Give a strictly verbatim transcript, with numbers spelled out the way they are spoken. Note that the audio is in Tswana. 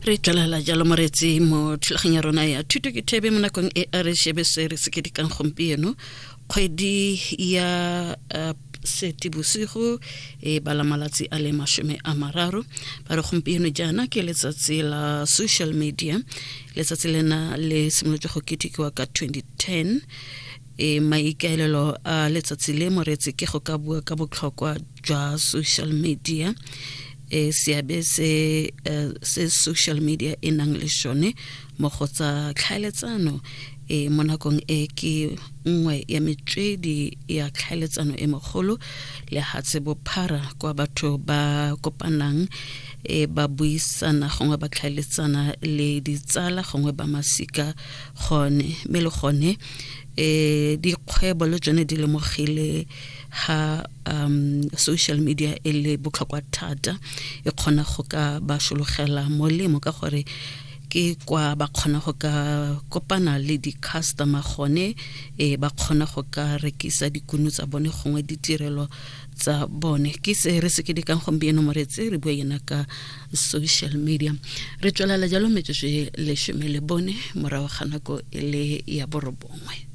Re tswelela jalo, moretsi, mo thulaganyo ya rona ya Thuto ke Thebe. Mo nakong e a re shebe se re se kedikang gompieno, kgwedi ya uh, Seetebosigo e bala malatsi a le mashome a mararo. Ba re gompieno jaana ke letsatsi la social media. Letsatsi lena le simolotse go ketekiwa ka twenty ten. E maikaelelo a letsatsi le, moretsi, ke go ka bua ka botlhokwa jwa social media, e seabe se uh, se social media e nang le sone mo go tsa tlhaeletsano. E mo nakong e ke nngwe ya metswedi ya tlhaeletsano e mogolo lehatshe bophara, kwa batho ba kopanang, e ba buisana, gongwe ba tlhaeletsana le ditsala, gongwe ba masika gone. Mme le gone e dikgwebo le tsone di lemogile ha um social media e le botlhokwa thata, e kgona go ka ba sologela molemo ka gore ke kwa ba kgona go ka kopana le di-customer gone, e ba kgona go ka rekisa dikuno tsa bone gongwe ditirelo tsa bone. Ke se re se ke dikang gompieno, moretse, re bua yena ka social media. Re tswelela jalo, metsotso e lesome le bone morago ga nako e le ya borobongwe.